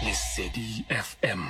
Lesedi FM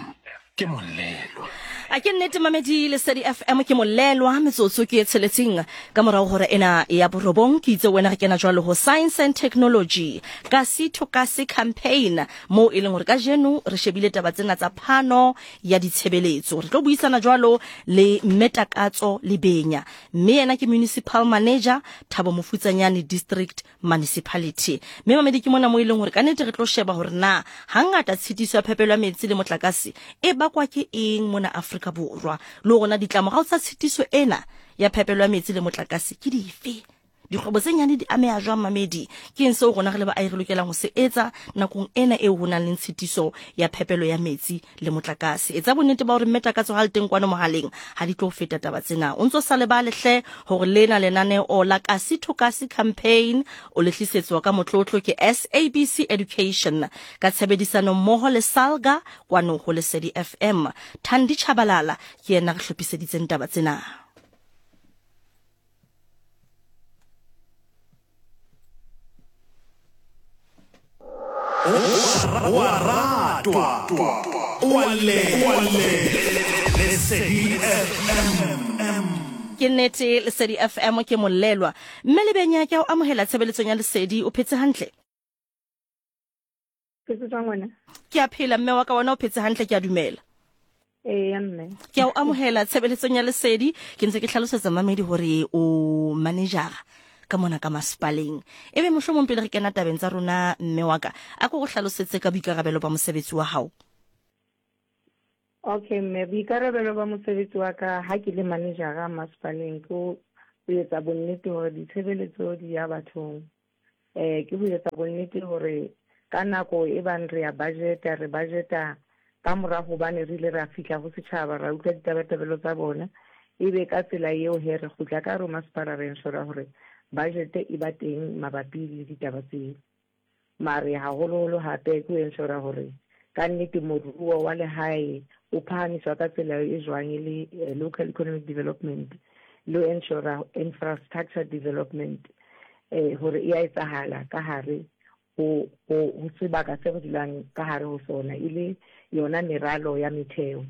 ke molelwa. A ke nnete mamedi Lesedi FM ke molelwa metsotso ke e tsheletseng ka morago gore ena ya borobong ke itse wena re kena jwalo ho science and technology ka sitho ka se campaign mo e leng hore ka jeno re shebile taba tsena tsa phano ya ditshebeletso re tlo buisana jwalo le mme Takatso Lebenya mme yena ke municipal manager Thabo Mofutsanyane district Municipality. Mme mamedi ke mona mo e leng hore ka nete re tlo sheba hore na hangata tshitiso ya phepelo ya metsi le motlakase e bakwa ke eng mona Afrika Borwa, le hore na ditlamorao tsa tshitiso ena ya phepelo ya metsi le motlakase ke dife. Dikgwebo tse nyane di ameha jwang mamedi? Ke eng seo rona re le baahi re lokelang ho se etsa nakong ena eo ho nang le tshitiso ya phepelo ya metsi le motlakase? Etsa bonnete ba hore mme Takatso ha le teng kwano mohaleng ha di tlo feta taba tsena. O ntso sa lebale hle hore lena lenaneo la Kasi to Kasi campaign o le tlisetswa ka motlotlo ke SABC Education ka tshebedisano mmoho le Salga kwano ho Lesedi FM. Thandi Chabalala ke yena re hlophiseditseng taba tsena. O a ratwa, o a lelwa. Lesedi FM. Ke nnete Lesedi FM ke molelwa. Mme Lebenya ke a o amohela tshebeletsong ya Lesedi, o phetse hantle? Phetse jwang wena? Ke a phela mme wa ka, wena o phetse hantle ke a dumela. Ee mme. Ke a o amohela tshebeletsong ya Lesedi. Ke ntse ke hlalosetsa mamedi hore o manejara ka mona ka masepaleng. Ebe mohlomong pele re kena tabeng tsa rona mme wa ka, a ko go hlalosetse ka boikarabelo ba mosebetsi wa hao. Okay mme, boikarabelo ba mosebetsi wa ka ha ke le manejara masepaleng ke ho etsa bonnete hore ditshebeletso di ya bathong. Eh, ke ho etsa bonnete hore ka nako e bang re ya budgeta, re budgeta ka mora hobane re ile ra fihla ho setjhaba, ra utlwa ditabatabelo tsa bona. Ebe ka tsela eo he re kgutla ka hare ho masepala re ensure hore budget e ba teng mabapi le ditaba tseo. Mare haholoholo hape ke ho ensure hore ka nnete moruo wa lehae o phahamiswa ka tsela e jwang e le eh, local economic development le ho ensure infrastructure development eh hore e a etsahala ka hare ho ho ho sebaka se re dulang ka hare ho sona e le yona meralo ya metheo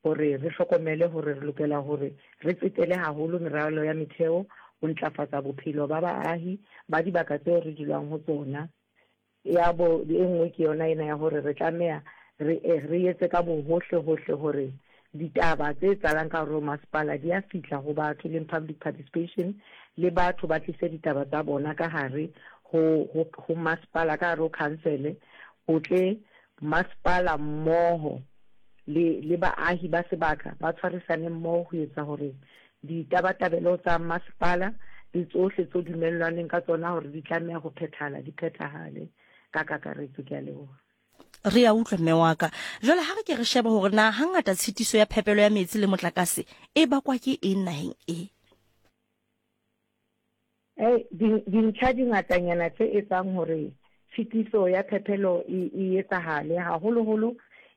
hore re hlokomele hore re lokela hore re tsetele haholo meralo ya metheo ho ntlafatsa bophelo ba baahi ba dibaka tseo re dulang ho tsona. Ya bo e nngwe ke yona ena ya hore re tlameha re re etse ka bohohle hohle hore ditaba tse etsahalang ka hare ho masepala di a fihla ho batho, e leng public participation, le batho ba tlise ditaba tsa bona ka hare ho ho ho masepala, ka hare ho khansele, ho tle masepala mmoho le le baahi ba sebaka ba tshwarisane mmoho ho etsa hore ditabatabelo tsa masepala le tsohle tso dumellwaneng ka tsona hore di tlameha ho phethahala di phethahale ka kakaretso. Ke a leboha. Re a utlwa mme wa ka. Jwale ha re ke re shebe hore na hangata tshitiso ya phepelo ya metsi le motlakase e bakwa ke eng naheng e. Hey, dintlha di ngatanyana tse etsang hore tshitiso ya phepelo e, e etsahale haholoholo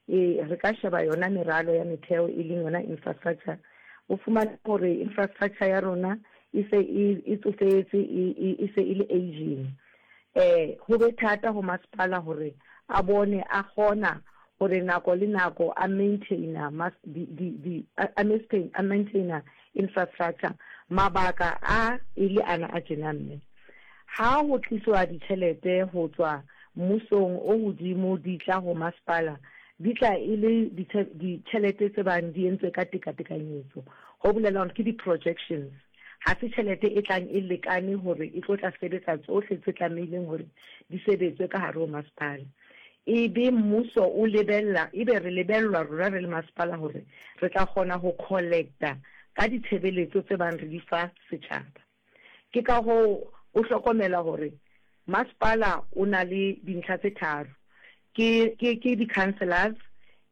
e, re ka sheba yona meralo ya metheo e leng yona infrastructure. O fumane hore infrastructure ya rona e se e, e tsofetse e, e, e se e le aging. Eh, ho be thata ho masepala hore a bone a kgona hore nako le nako a maintainer mas, di, di, di, a, maintain, a maintainer infrastructure. Mabaka a e le ana a tjena mme ha ho tliswa ditjhelete ho tswa mmusong o hodimo di tla ho masepala di tla e le ditjhelete tse bang di entswe ka tekatekanyetso, ho bolela hore ke di-projections. Ha se tjhelete e tlang e lekane hore e tlo tla sebetsa tsohle tse tlamehileng hore di sebetswe ka hare ho masepala. E be mmuso o lebella, ebe re lebellwa rona re le masepala hore re tla kgona ho collecta ka ditshebeletso tse bang re di fa setjhaba. Ke ka hoo o hlokomela hore masepala o na le dintlha tse tharo, ke, ke, ke di-councillors,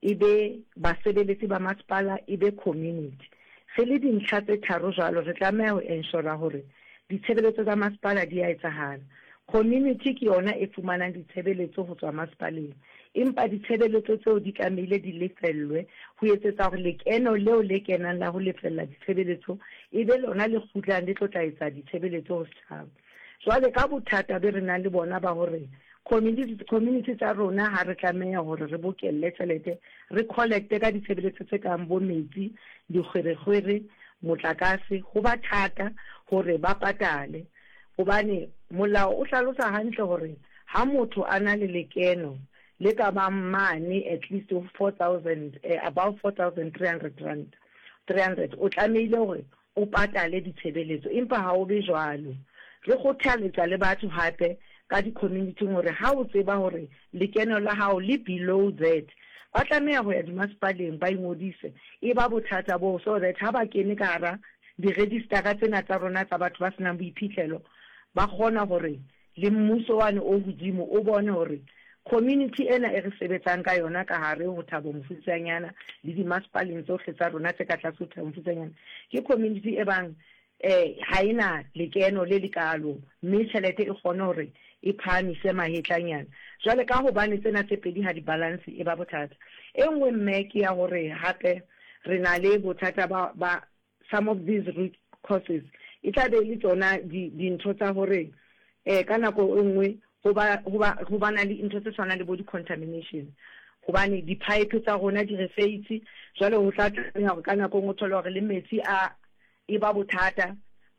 e be basebeletsi ba masepala, e be community. Re le dintlha tse tharo jwalo, re tlameha ho ensure hore ditshebeletso tsa masepala di a etsahala. Community ke yona e fumanang ditshebeletso ho tswa masepaleng, empa ditshebeletso tseo di tlamehile di lefellwe ho etsetsa hore lekeno leo le kenang la ho lefella ditshebeletso e be lona le kgutlang le tlo tla etsa ditshebeletso ho setjhaba. Jwale ka bothata be re nang le bona ba hore Community, community tsa rona ha re tlameha hore re bokelle tjhelete, re collecte ka ditshebeletso tse kang bo metsi, dikgwerekgwere, motlakase, ho ba thata hore ba patale. Hobane molao o hlalosa hantle hore ha motho a na le lekeno le ka bang mane at least ho 4000, above 4300 rand, 300, o tlamehile hore o patale ditshebeletso, empa ha ho be jwalo. Re kgothaletsa le batho hape ka di-community-ng hore ha o tseba hore lekeno la hao le below that, ba tlameha ho ya dimasepaleng ba ingodise. E ba bothata boo so that ha ba kene ka hara di-register-a tsena tsa rona tsa batho ba senang boiphihlelo, ba kgona hore le mmuso wane o hodimo o bone hore community ena e re sebetsang ka yona ka hare ho Thabo Mofutsanyana le dimasepaleng tsohle tsa rona tse ka tlase ho Thabo Mofutsanyana ke community e bang eh ha e na lekeno le lekaalo mme tjhelete e kgone hore e phahamise mahetlanyana. Jwale ka hobane tsena tse pedi ha di balance e ba bothata. E nngwe mme ke ya hore hape re na le bothata ba ba some of these root causes e tla be e le tsona dintho tsa hore um ka nako e nngwe ho ba ho ba ho ba na le ntho tse tshwanang le bo di-contamination hobane di-pipe tsa rona di re feitse. Jwale ho tla tlameha hore ka nako e nngwe o thole hore le metsi a e ba bothata,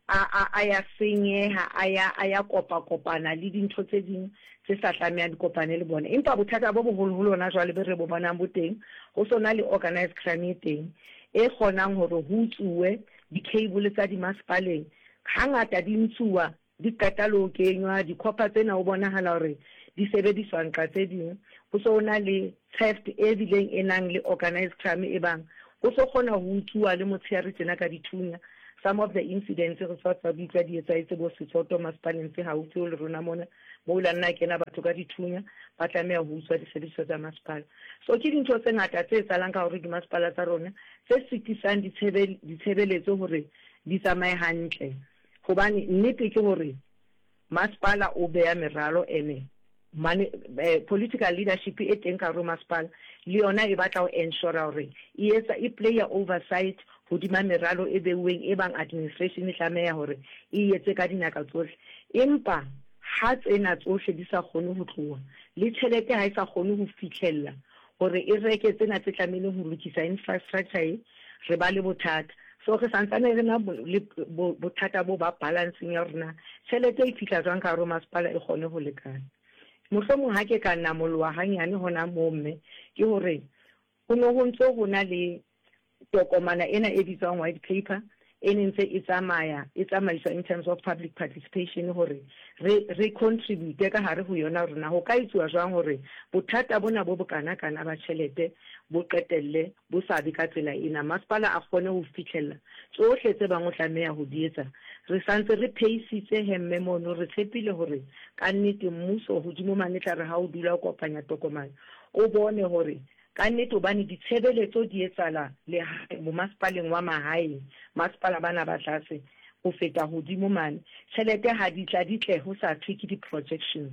a a a ya senyeha, a ya a ya kopa-kopana le dintho tse ding tse sa tlamehang di kopane le bona. Empa bothata bo boholoholo hona jwale be re bo bonang bo teng, ho so na le organized crime e teng e kgonang hore ho utsuwe di-cable tsa dimasepaleng. Hangata di ntshuwa di qeta le ho kenywa, di-copper tsena ho bonahala hore di sebediswa nqa tse ding. Ho so na le theft e bileng e nang le organized crime e bang ho so kgona ho utsuwa le motshehare tjena ka dithunya. Some of the incidents re sa tswa di utlwa di etsahetse bo Setsoto masepaleng tse haufi le rona mona, moo la nna kena batho ka dithunya ba tlameha ho utswa disebediswa tsa masepala. So ke dintho tse ngata tse etsahalang ka hore dimasepala tsa rona tse sitisang ditshebeletso hore di tsamaye hantle. Hobane nnete ke hore masepala o beya meralo ene mane political leadership e teng ka hare ho masepala le yona e batla ho ensure hore e etsa e player oversight hodima meralo e beuweng e bang administration e tlameha hore e etse ka dinaka tsohle. Empa ha tsena tsohle di sa kgone ho tloha le tjhelete ha e sa kgone ho fihlella hore e reke tsena tse tlamehileng ho lokisa infrastructure e, re ba le bothata. So re santsane re na le bothata bo ba balancing ya hore na tjhelete e fihla jwang ka hare ho masepala e kgone ho lekana. Mohlomong ha ke ka namoloha hanyane hona moo mme, ke hore ho ne ho ntso ho na le tokomana ena e bitswang white paper e ne ntse e tsamaya e tsamaiswa in terms of public participation hore re re contribute ka hare ho yona hore na ho ka etsuwa jwang hore bothata bona bo bokana kana ba tjhelete bo qetelle bo sa be ka tsela ena, masepala a kgone ho fihlella tsohle tse bang o tlameha ho di etsa. Re sa ntse re pheisitse hemme mono, re tshepile hore kannete mmuso hodimo mane tla re ha o dula o kopanya tokomane o bone hore kannete hobane ditshebeletso di etsahala lehae bomasepaleng wa mahaeng, masepala bana ba tlase ho feta hodimo mane, tjhelete ha di tla di tle ho sa thwe ke di-projections.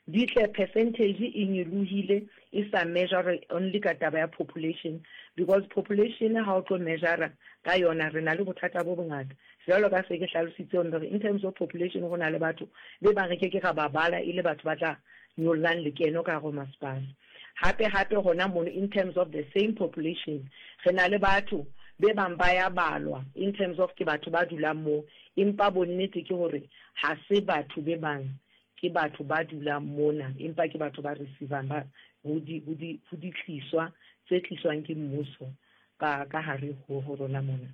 Di tle percentage e nyolohile e sa measure only ka taba ya population because population ha o tlo measure ka yona re na le bothata bo bongata. Jwalo ka se ke hlalositse hore in terms of population ho na le batho be bang re ke ke ra ba bala e le batho ba tla nyollang lekeno ka hare ho masepala. Hape hape hona mono in terms of the same population re na le batho be bang ba ya balwa in terms of ke batho ba dulang moo empa bonnete ke hore ha se batho be bang ke batho ba dulang mona empa ke batho ba receivang ba ho di ho di ho ditliswa tse tliswang ke mmuso ka ka hare ho ho rona mona.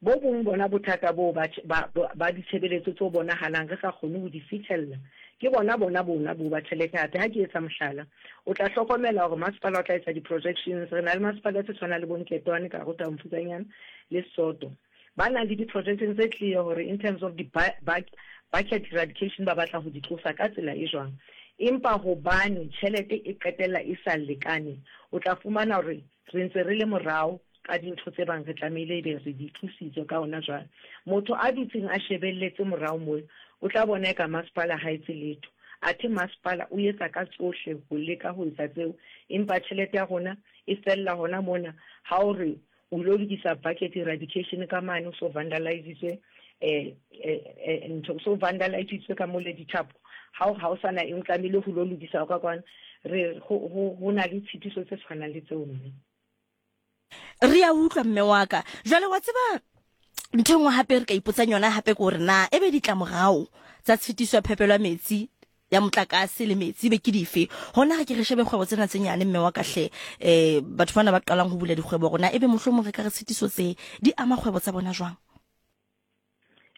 Bo bong bona bothata boo ba ba ba ditshebeletso tse bonahalang re sa kgone ho di fihlella ke bona bona bona bo ba tjhelete. Hape ha ke etsa mohlala, o tla hlokomela hore masepala o tla etsa di-projections. Re na le masepala tse tshwanang le bo Nketwane ka hare ho Thabo le Soto. Ba nang le di-projection tse clear hore in terms of di-bucket eradication ba batla ho di tlosa ka tsela e jwang. Empa hobane tjhelete e qetella e sa lekane, o tla fumana hore re ntse re le morao ka dintho tse bang re tlamehile ebe re di tlositse ka hona jwale. Motho a dutseng a shebelletse morao moo, o tla bona eka masepala ha etse letho. Athe masepala o etsa ka tsohle ho leka ho etsa tseo, empa tjhelete ya rona e fella hona mona ha o re O ilo lokisa bucket eradication ka mane, o so vandalizitswe ntho, o so vandalizitswe ka mole dithapo. Ha o ha o sana eng o tlamehile ho lo lokisa ka kwana. Re ho ho ho na le tshitiso tse tshwanang le tseo mme. Re a utlwa mme wa ka. Jwale wa tseba ntho e nngwe hape re ka ipotsang yona hape ke gore na ebe ditlamorao tsa tshitiso ya phepelo ya metsi ya motlakase le metsi ebe ke dife? Hona re ke re shebe kgwebo tsena tse nyane mme wa ka hle, um batho bana ba qalang ho bula dikgwebo rona ebe mohlomong re ka re tshitiso tse di ama kgwebo tsa bona jwang?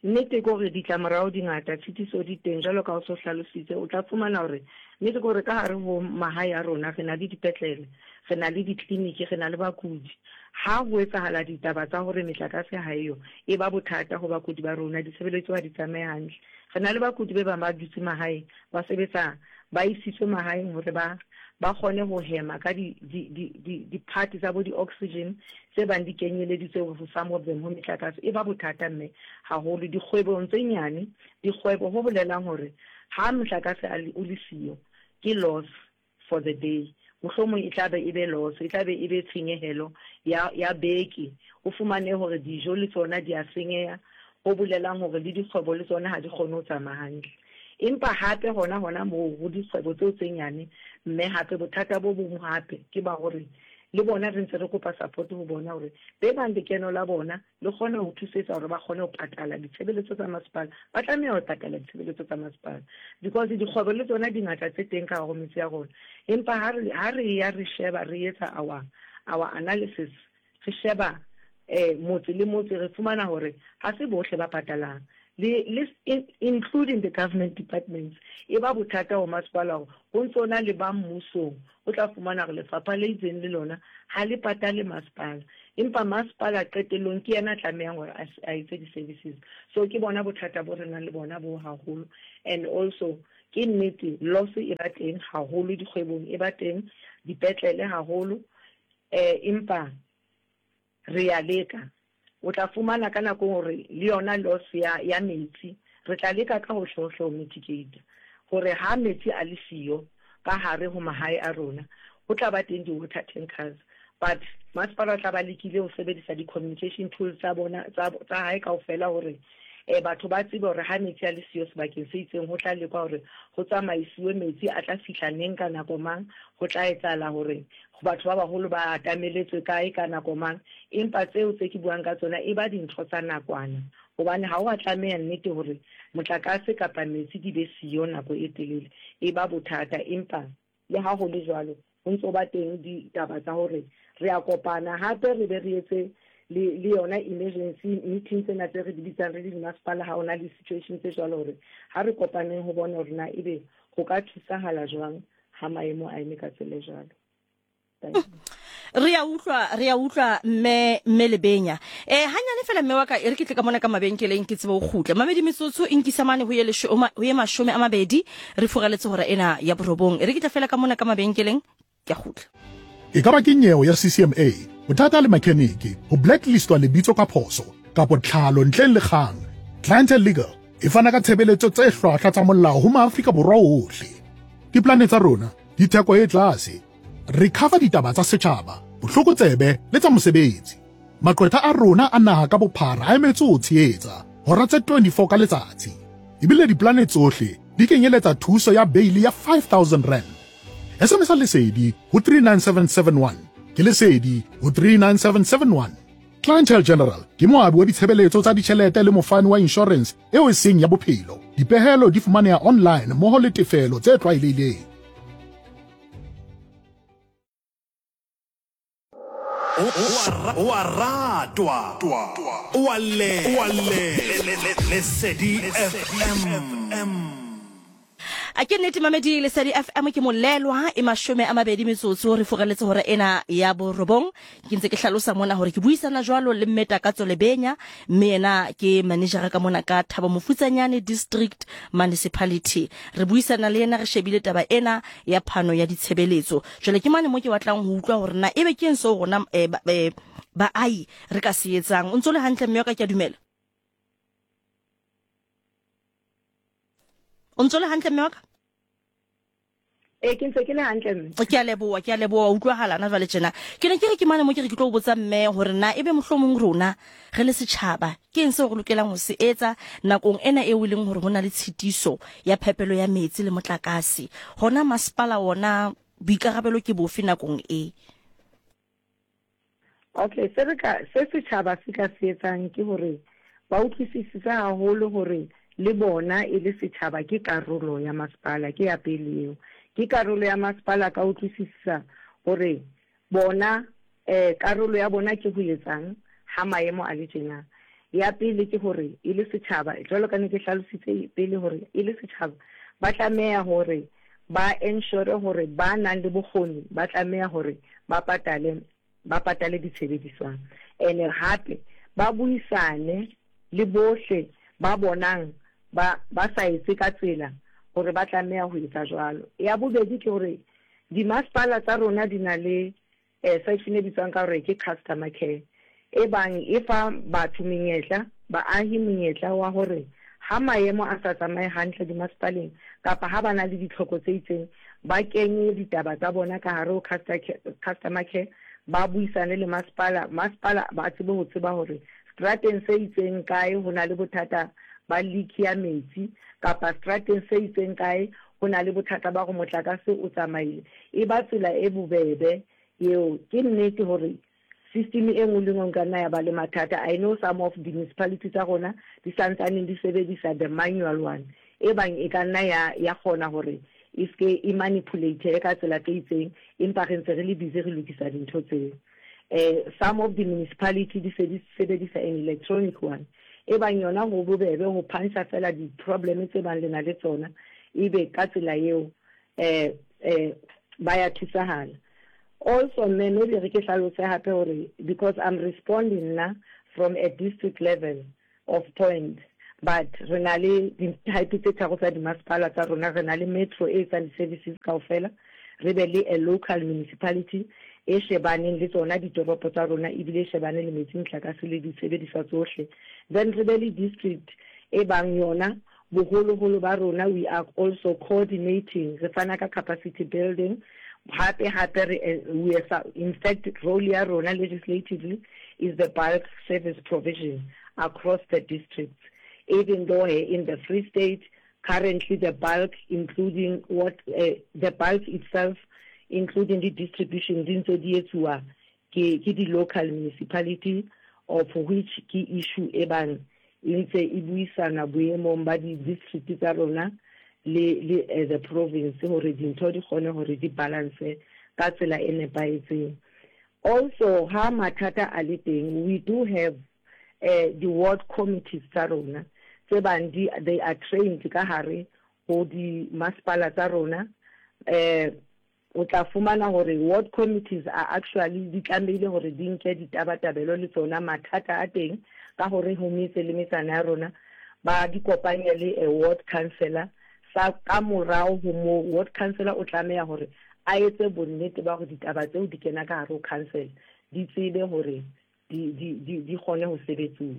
Nnete ke hore ditlamorao di ngata, tshitiso di teng jwalo ka o so hlalositse. O tla fumana hore nnete ke hore ka hare ho mahae a rona re na le dipetlele, re na le ditleliniki, re na le bakudi. Ha ho etsahala ditaba tsa hore metlakase ha eyo, e ba bothata ho bakudi ba rona, ditshebeletso ha di tsamaye hantle. Re na le bakudi be bang ba dutse mahaeng, ba sebetsa, ba isitswe mahaeng hore ba ba kgone ho hema ka di di di di di-part tsa bo di-oxygen tse bang di kenyeleditswe ho some of them ho metlakase. E ba bothata mme haholo dikgwebong tse nyane, dikgwebo ho bolelang hore ha motlakase a le o le siyo ke loss for the day. Mohlomong e tla be e be loss, e tla be e be tshenyehelo ya, ya beke. O fumane hore dijo le tsona di a senyeha, ho bolelang hore le dikgwebo le tsona ha di kgone ho tsamaya hantle. Empa hape hona hona moo ho dikgwebo tseo tse nyane, mme hape bothata bo bong hape ke ba hore le bona re ntse re kopa support ho bona hore be bang lekeno la bona le kgone ho thusetsa hore ba kgone ho patala ditshebeletso tsa masepala. Ba tlameha ho patala ditshebeletso tsa masepala because dikgwebo le tsona di ngata tse teng ka hare ho metse ya rona. Empa ha re, ha re ya re sheba, re etsa our, our analysis, re sheba eh, motse le motse, re fumana hore ha se bohle ba patalang. Le, le, including the government departments. E ba bothata ho masepala hore ho ntso na le ba mmusong, o tla fumana hore lefapha le itseng le lona ha le patale masepala. Empa masepala qetellong ke yena a tlamehang hore a etse di-services. So ke bona bothata bo re nang le bona bo haholo. And also ke nnete loss e ba teng haholo dikgwebong, e ba teng dipetlele haholo. Empa re ya leka. O tla fumana ka nako hore le yona loss ya, ya metsi, re tla leka ka hohle-hohle ho mitigate hore ha metsi a le siyo ka hare ho mahae a rona, ho tla ba teng di-water tankers. But masepala o tla ba lekile ho sebedisa di-communication tools tsa bona, tsa, tsa hae kaofela hore eh, batho ba tsebe hore ha metsi a le siyo sebakeng se itseng, ho tla lekwa hore ho tsamaisiwe metsi a tla fihla neng ka nako mang, ho tla etsahala hore batho ba baholo ba atameletswe kae ka nako mang. Empa tseo tse ke buang ka tsona e ba dintho tsa nakwana, hobane ha o a tlameha nnete hore motlakase kapa metsi di be siyo nako e telele, e ba bothata. Empa le ha ho le jwalo, ho ntso ba teng ditaba tsa hore re a kopana hape re be re etse le, le yona emergency meeting tsena tse re di bitsang re le dimasepala ha ho na le situation tse jwalo, hore ha re kopaneng ho bona hore na ebe ho ka thusahala jwang ha maemo a eme ka tsela e jwalo. Re a utlwa, re a utlwa mme, mme Lebenya. Eh, hanyane fela mme wa ka, e re ke tle ka mona ka mabenkeleng ke tsebe ho kgutla. Mamedi metsotso e nkisa mane ho ye lesho, ho ye 20 re furaletse hora ena ya borobong. E re ke tle fela ka mona ka mabenkeleng ke a kgutla. E ka ba ke nyeo ya CCMA, bothata le makheniki, ho blacklistwa lebitso ka phoso, kapo tlhalo ntleng le kgang, Clientele Legal e fana ka tshebeletso tse hlwahlwa tsa molao ho maAfrika Borwa ohle. Diplane tsa rona di theko e tlase. Re cover ditaba tsa setjhaba, bohlokotsebe le tsa mosebetsi. Maqwetha a rona a naha ka bophara a emetse ho tshehetsa hora tse 24 ka letsatsi. Ebile diplane tsohle di kenyeletsa thuso ya beili ya 5000 rand. SMS Lesedi ho 39771. Ke Lesedi ho 39771. Clientele General ke moabi wa ditshebeletso tsa ditjhelete le mofani wa inshorense eo e seng ya bophelo. Dipehelo di fumaneha online mmoho le tefelo tse tlwaelehileng. O a ratwa, o a llelwa, Lesedi FM. A ke nnete mamedi Lesedi FM ke molelwa e 20 metsotso re furaletse hora ena ya borobong. Ke ntse ke hlalosa mona hore ke buisana jwalo le mme Takatso Lebenya, mme yena ke manejara ka mona ka Thabo Mofutsanyane District Municipality. Re buisana le yena re shebile taba ena ya phano ya ditshebeletso. Jwale ke mane mo ke batlang ho utlwa hore na ebe ke eng seo rona eh, eh, baahi re ka se etsang. O ntse o le hantle mme wa ka, ke a dumela. O ntse o le hantle mme wa ka? Ee, ke ntse ke le hantle mme. Ke a leboa, ke a leboa, wa utlwahala na jwale tjena. Ke ne ke re ke mane mo ke re ke tlo o botsa mme hore na ebe mohlomong rona re le setjhaba ke eng seo re lokelang ho se etsa nakong ena eo e leng hore ho na le tshitiso ya phepelo ya metsi le motlakase. Hona masepala wona boikarabelo ke bofe nakong e? Okay, se re ka se setjhaba se ka se etsang ke hore ba utlwisisise haholo hore le bona e le setjhaba ke karolo ya masepala, ke ya pele eo. Ke karolo ya masepala ka utlwisisa hore bona eh karolo ya bona ke ho etsang ha maemo a le tjena. Ya pele ke hore e le setjhaba, jwalo ka ne ke hlalositse pele hore e le setjhaba ba tlameha hore ba ensure hore ba nang le bokgoni ba tlameha hore ba patale ba patale ditshebediswang ene hape ba buisane le bohle ba bonang ba ba sa etse ka tsela hore ba tlameha ho etsa jwalo. Ya bobedi ke hore dimasepala tsa rona di na le Section e bitswang ka hore ke customer care, e bang e fa batho menyetla, baahi monyetla wa hore ha maemo a sa tsamaye hantle dimasepaleng kapa ha ba na le ditlhoko tse itseng, ba kenye ditaba tsa bona ka hare ho customer care, ba buisane le masepala, masepala ba tsebe ho tseba hore seterateng se itseng kae ho na le bothata ba leak ya metsi kapa seterateng se itseng kae ho na le bothata ba hore motlakase o tsamaile. E ba tsela e bobebe eo. Ke nnete hore system e nngwe le nngwe nka nna ya ba le mathata. I know some of the municipality tsa rona di santsaneng di sebedisa the manual one, e bang e ka nna ya ya kgona hore e se e manipulate ka tsela tse itseng, empa re ntse re le busy re lokisa dintho tseo. Some of the municipality di se di sebedisa an electronic one, e bang yona ho bobebe ho punch-a fela di-problem tse bang le na le tsona, ebe ka tsela eo ba ya thusahala. Also mme maybe re ke hlalose hape hore because I'm responding nna from a district level of point, but re na le di-type tse tharo tsa dimasepala tsa rona. Re na le metro e etsang di-services kaofela, re be le a local municipality e shebaneng le tsona ditoropo tsa rona ebile e shebane le metsi, motlakase le disebediswa tsohle. Then re be le district e bang yona boholoholo ba rona we are also coordinating, re fana ka capacity building, hape hape re we are, in fact role ya rona legislatively is the bulk service provision across the districts, even though in the Free State currently the bulk including what the bulk itself including the distribution di ntse di etsuwa ke ke di-local municipality, of which ke issue e bang e ntse e buisana boemong ba di-district tsa rona le le the province hore dintho di kgone hore di balance ka tsela e nepahetseng. Also ha mathata a le teng, we do have di-ward committees tsa rona tse bang di they are trained ka hare ho di-masepala tsa rona. O tla fumana hore ward committees are actually di tlamehile hore di nke ditabatabelo le tsona mathata a teng ka hore ho metse le metsana ya rona, ba di kopanye le a ward councillor. Sa ka morao ho moo, ward councillor o tlameha hore a etse bonnete ba hore ditaba tseo di kena ka hare ho council, di tsebe hore di, di, di, di kgone ho sebetsuwa.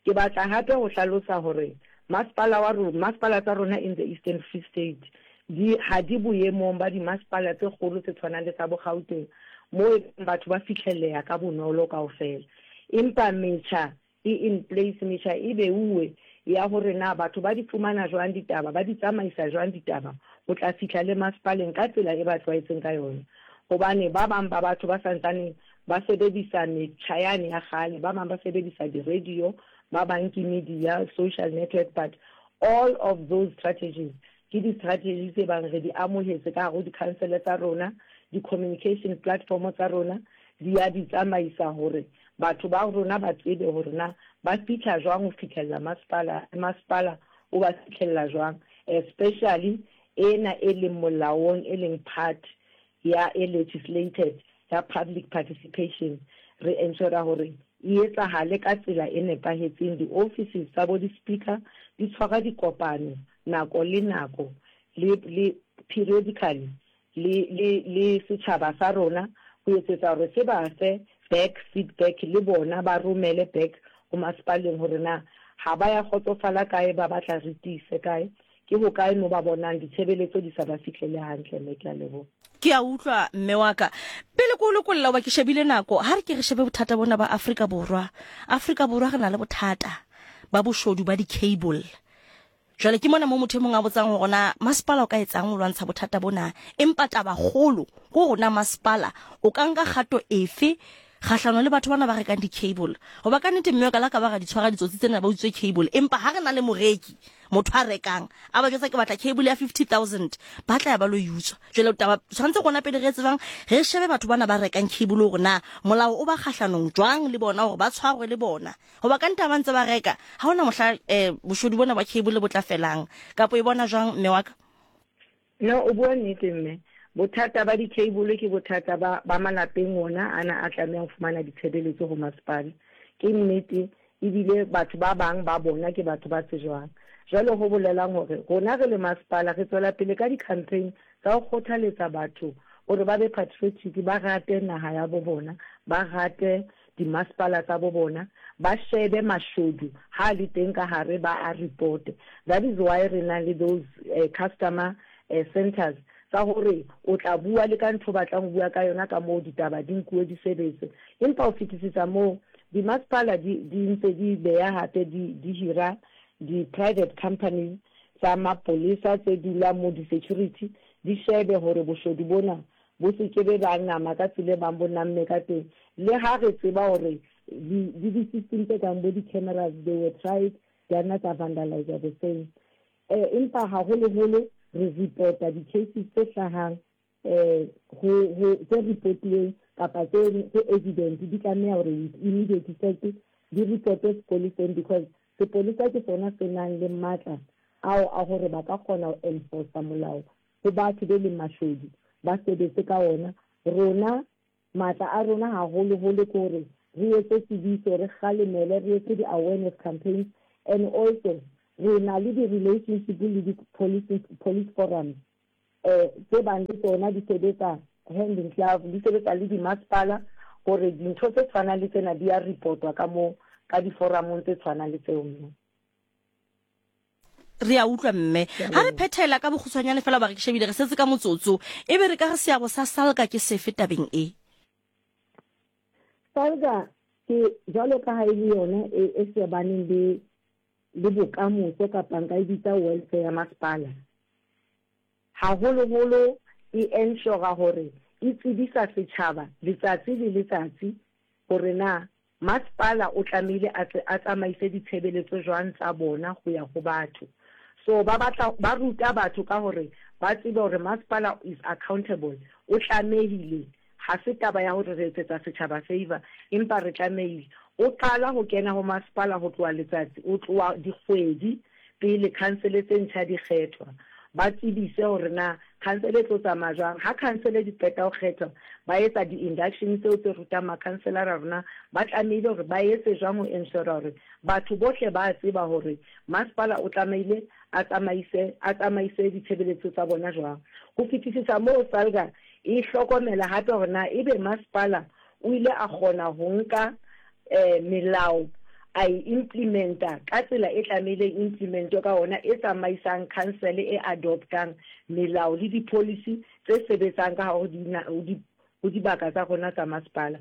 Ke batla hape ho hlalosa hore masepala wa rona, masepala tsa rona in the Eastern Free State di ha di boemong ba dimasepala tse kgolo tse tshwanang le tsa bo Gauteng moo e leng batho ba fihlelleha ka bonolo kaofela. Empa metjha e in place, metjha e beuwe ya hore na batho ba di fumana jwang ditaba, ba di tsamaisa jwang ditaba ho tla fihla le masepaleng ka tsela e ba tlwaetseng ka yona. Hobane ba bang ba batho ba santsaneng ba sebedisa metjha yane ya kgale, ba bang ba sebedisa di-radio, ba bang ke media, social network, but all of those strategies ke di-strategy tse bang re di amohetse ka hare ho di-council tsa rona, di-communication platform tsa rona di ya di tsamaisa hore batho ba rona ba tsebe hore na ba fihla jwang ho fihlella masepala, masepala o ba fihlella jwang, especially ena e leng molaong, e leng part ya e legislated ya public participation, re ensure hore e etsahale ka tsela e nepahetseng. Di-offices tsa bo di-speaker di tshwara dikopano nako le nako le, le periodically le, le, le setjhaba sa rona ho etsetsa hore se ba fe back feedback le bona ba romele back ho masepaleng hore na ha ba ya kgotsofala kae, ba batla re tiise kae. Ke hokae mo ba bonang ditshebeletso di sa ba fihlele hantle, Mme? Ke a leboha. Ke a utlwa, mme wa ka. Pele ke o lokolla, hoba ke shebile nako, ha re ke re shebe bothata bona ba Afrika Borwa. Afrika Borwa re na le bothata ba boshodu ba di-cable. Jwale ke mona mo motho e mong a botsang hore na masepala o ka etsang ho lwantsha bothata bona. Empa tabakgolo ke hore na masepala o ka nka kgato efe kgahlano le batho bana ba rekang di-cable. Hoba ka nnete mme wa ka la ka ba ra di tshwara ditsotsi tsena ba utswe cable. Empa ha re na le moreki, motho a rekang, a ba jwetsa ke batla cable ya 50,000, ba tla ya ba lo e utswa. Jwale taba tshwanetse rona pele re tsebang re shebe batho bana ba rekang cable hore na molao o ba kgahlanong jwang le bona hore ba tshwarwe le bona. Hoba ka nnete ha ba ntse ba reka, ha hona mohla boshodu bona ba cable bo tla felang. Kapa o e bona jwang mme wa ka? No, o bua nnete mme. Bothata ba di-cable ke bothata ba, ba malapeng ona ana a tlamehang ho fumana ditshebeletso ho masepala. Ke nnete, ebile batho ba bang ba bona ke batho ba tsejwang. Jwale ho bolelang hore rona re le masepala re tswela pele ka di-campaign tsa ho kgothaletsa batho hore ba be patriotic, ba rate naha ya bo bona, ba rate dimasepala tsa bo bona, ba shebe mashodu ha a le teng ka hare ba a reporte. That is why re nang le those customer centers tsa hore o tla bua le ka ntho o batlang ho bua ka yona ka moo ditaba di nkuwe di sebetswe. Empa ho fetisisa moo, dimasepala di di ntse di beya hape di di hira di-private companies tsa mapolesa tse dulang moo di-security di shebe hore boshodu bona bo se ke be ba nama ka tsela e bang bo namme ka teng. Le ha re tseba hore di, di di-system tse kang bo di-cameras, they were tried, di a nna tsa vandalize the same. Eh, empa haholoholo re reporta di-cases tse hlahang eh, ho, ho, tse reportuweng kapa tse, tse evident di tlameha hore with immediate effect di reportwe sepoleseng because sepolesa ke sona se nang le matla ao a hore ba ka kgona ho enforcer molao ho batho be leng mashodu ba sebetse ka ona. Rona, matla a rona haholoholo ke hore re etse tsebiso, re kgalemele, re etse di-awareness campaigns and also re na le di-relationship le di-police, police forums eh, tse bang le tsona di sebetsa hand in glove, di sebetsa le dimasepala hore dintho tse tshwanang le tsena di a reportwa ka moo ka diforamong tse tshwanang le tseo mme. Re a utlwa mme. Ha re phethela ka bokgutshwanyane fela ba re ke shebile re setse ka motsotso. E be re ka re seabo sa SALGA ke sefe tabeng e? SALGA ke jwalo ka ha e le yona e, e shebaneng le le bokamoso kapa nka e bitsa welfare ya masepala. Haholoholo e ensure hore e tsebisa setjhaba letsatsi le letsatsi hore na Masepala o tlamehile a tle a tsamaise ditshebeletso jwang tsa bona ho ya ho batho. So ba batla ba ruta batho ka hore ba tsebe hore masepala is accountable, o tlamehile, ha se taba ya hore re etsetsa setjhaba favour, empa re tlamehile. O qala ho kena ho masepala ho tloha letsatsi, o tloha dikgwedi pele khansele tse ntjha di kgethwa. Ba tsebise hore na khansele e tlo tsamaya jwang. Ha khansele di qeta ho kgethwa, ba etsa di-induction tseo tse rutang makhanselara hore na ba tlamehile hore ba etse jwang ho ensure hore batho bohle ba tseba hore masepala o tlamehile a tsamaise a tsamaise ditshebeletso tsa bona jwang. Ho fetisisa moo, SALGA e hlokomela hape hore na ebe masepala o ile a kgona ho nka melao a e implementa ka tsela e tlamehileng implementwe ka ona, e tsamaisang khansele e adoptang melao le di-policy tse sebetsang ka hare ho dibaka tsa rona tsa masepala.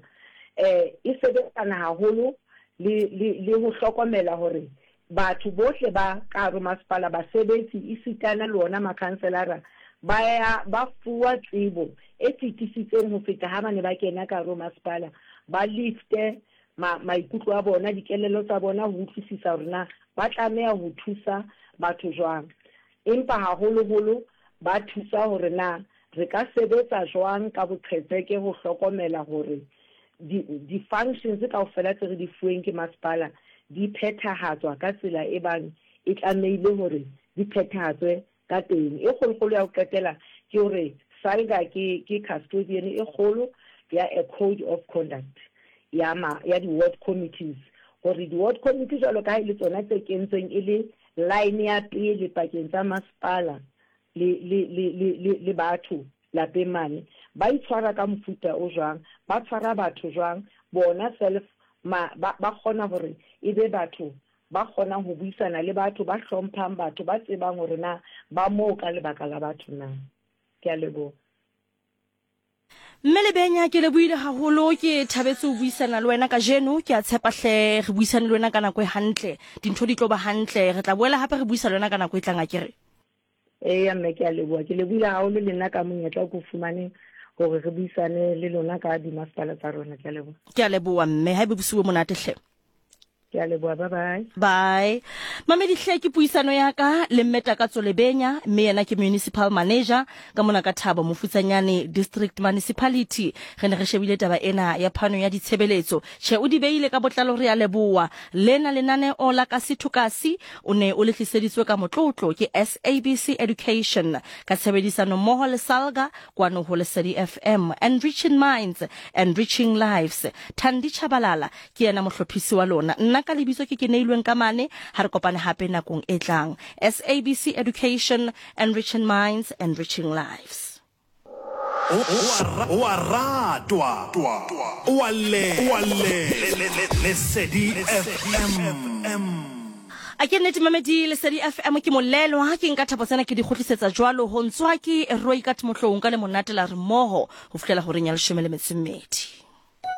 E sebetsana haholo le, le, le ho hlokomela hore batho bohle ba ka hare ho masepala, basebetsi esitana le ona makhanselara ba ya ba fuwa tsebo e fetisitseng ho feta ha ba ne ba kena ka hare ho masepala, ba lifte ma, maikutlo a bona, dikelello tsa bona ho utlwisisa hore na ba tlameha ho thusa batho jwang. Empa haholoholo ba thusa hore na re ka sebetsa jwang ka boqhetseke ho hlokomela hore di, di-functions kaofela tse re di fuweng ke masepala di phethahatswa ka tsela e bang e tlamehile hore di phethahatswe ka teng. E kgolokgolo ya ho qetela ke hore SALGA ke, ke custodian e kgolo ya a code of conduct ya ma, ya di-ward committees, hore di-ward committee jwalo ka ha e le tsona tse kentsweng e le line ya pele pakeng tsa masepala le, le, le, le, le, le batho lapeng mane, ba itshwara ka mofuta o jwang, ba tshwara batho jwang, bona self ma, ba, ba kgona hore e be batho. ba kgonang ho buisana le batho, ba hlomphang batho, ba tsebang hore na ba moo ka lebaka la batho na. Ke a leboha. Mme Lebenya, ke lebohile haholo, ke thabetse ho buisana le wena kajeno. Ke a tshepa hle re buisane le wena ka nako e hantle, dintho di tlo ba hantle. Re tla boela hape re buisa le wena ka nako e tlang, akere? Eya mme, ke a leboha. Ke lebohile haholo le nna ka monyetla o ke o fumaneng hore re buisane le lona ka dimasepala tsa rona. Ke a leboha. Ke a leboha mme, ha ebe bosiu bo monate hle. Ke a leboha, bye bye. Bye. Mamedi hle ke puisano ya ka le Mme Takatso Lebenya, mme yena ke municipal manager ka mona ka Thabo Mofutsanyane District Municipality. Re ne re shebile taba ena ya phano ya ditshebeletso. Tjhe, o di beile ka botlalo, re a leboha. Lena lenaneo la Kasi to Kasi o ne o le tliseditswe ka motlotlo ke SABC Education ka tshebedisano mmoho le Salga kwano ho Lesedi FM. Enriching minds, enriching lives. Thandi Chabalala Ke yena mohlophisi wa lona. Nna ka lebitso ke Keneilwe Nkamane. Ha re kopane hape nakong e tlang. SABC Education, enriching minds, enriching lives. O a ratwa, o a llelwa. Lesedi FM. A ke nnete mamedi Lesedi FM ke molelwa ke nka thapo tsena ke di kgutlisetsa jwalo ho ntswa ke Roikat Motloung ka le monate la re mmoho ho fihlela horeng ya leshome le metso e mmedi.